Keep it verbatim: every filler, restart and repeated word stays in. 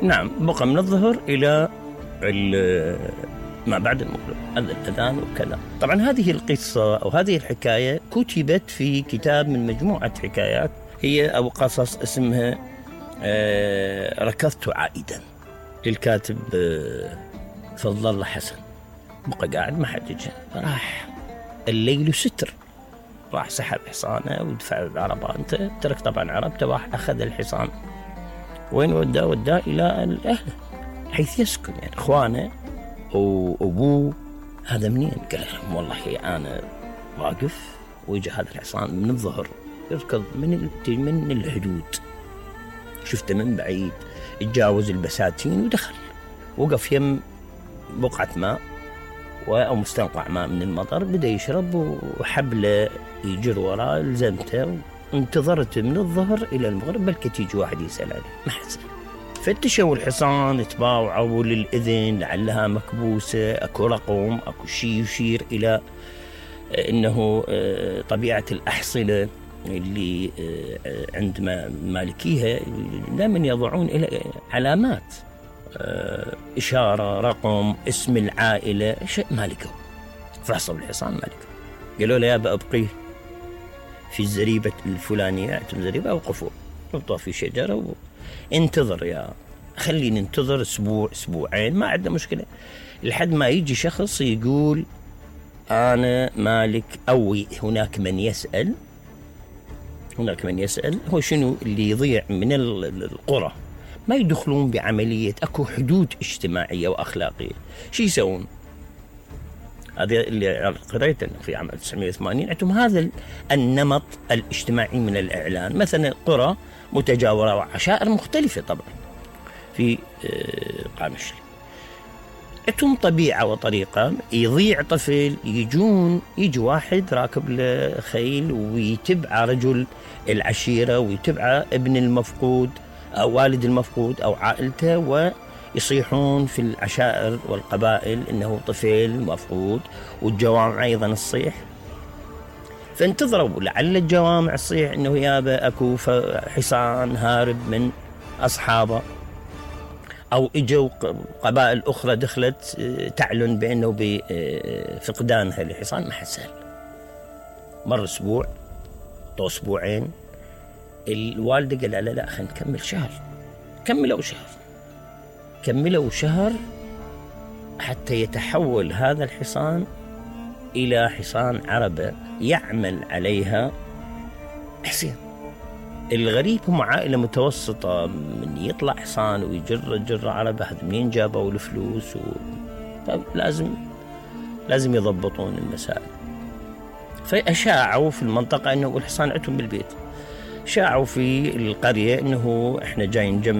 نعم، بقى من الظهر إلى ما بعد المغرب، هذا الأذان وكذا. طبعا هذه القصة أو هذه الحكاية كتبت في كتاب من مجموعة حكايات هي أو قصص اسمها آه ركضت عائدا للكاتب آه فضل الله حسن. بقى قاعد ما حد يجي، راح الليل ستر، راح سحب حصانه ودفع عربانته، ترك طبعا عربته، راح أخذ الحصان. وين وداه؟ وداه إلى أهله حيث يسكن، يعني إخوانه وأبوه. هذا منين؟ قال لهم والله أنا واقف ويجي هذا الحصان من الظهر يركض من من الحدود، شفته من بعيد، اتجاوز البساتين ودخل، وقف يم بقعة ماء أو مستنقع ماء من المطر، بدأ يشرب وحبله يجر وراه، لزمته وانتظرت من الظهر إلى المغرب بلكي تيجي واحد يسأل عليه، ما حصل. فتشوا الحصان، تباوعوا للإذن لعلها مكبوسة، أكو رقم، أكو شيء يشير إلى أنه طبيعة الأحصنة اللي عند مالكيها دائما يضعون إلى علامات، إشارة، رقم، اسم العائلة، شيء مالكه. فحصوا الحصان مالكه، قالوا له يا أبا أبقيه في الزريبة الفلانية، اعتم زريبة، أوقفوا ربطوا في شجرة وانتظر، يا خلي ننتظر أسبوع أسبوعين، ما عندنا مشكلة، لحد ما يجي شخص يقول أنا مالك، أو هناك من يسأل هناك من يسأل هو شنو اللي يضيع من القرى، ما يدخلون بعملية، أكو حدود اجتماعية وأخلاقية. شو يسوون؟ هذا اللي قريته في عام ألف وتسعمائة وثمانين عندهم هذا النمط الاجتماعي من الإعلان. مثلا قرى متجاورة وعشائر مختلفة طبعا في قامشلي، عندهم طبيعة وطريقة. يضيع طفل، يجون يجي واحد راكب له خيل ويتبع رجل العشيرة ويتبع ابن المفقود أو والد المفقود أو عائلته، ويصيحون في العشائر والقبائل إنه طفل مفقود، والجوامع أيضا الصيح. فانتظروا لعل الجوامع الصيح إنه يابا أكو حصان هارب من أصحابه، أو إجوا قبائل أخرى دخلت تعلن بأنه بفقدانها لحصان. ما حصل. مر أسبوع، طو أسبوعين، الوالدة قال لا لا خلينا نكمل شهر. كملوا شهر كملوا شهر حتى يتحول هذا الحصان إلى حصان عربة يعمل عليها حسين. الغريب هم عائلة متوسطة، من يطلع حصان ويجر جر عربة، هذا منين جابوا الفلوس و... لازم لازم يضبطون المسائل. فأشاعوا في المنطقة أنه الحصان عندهم بالبيت، شاعوا في القرية أنه إحنا جايين نجمع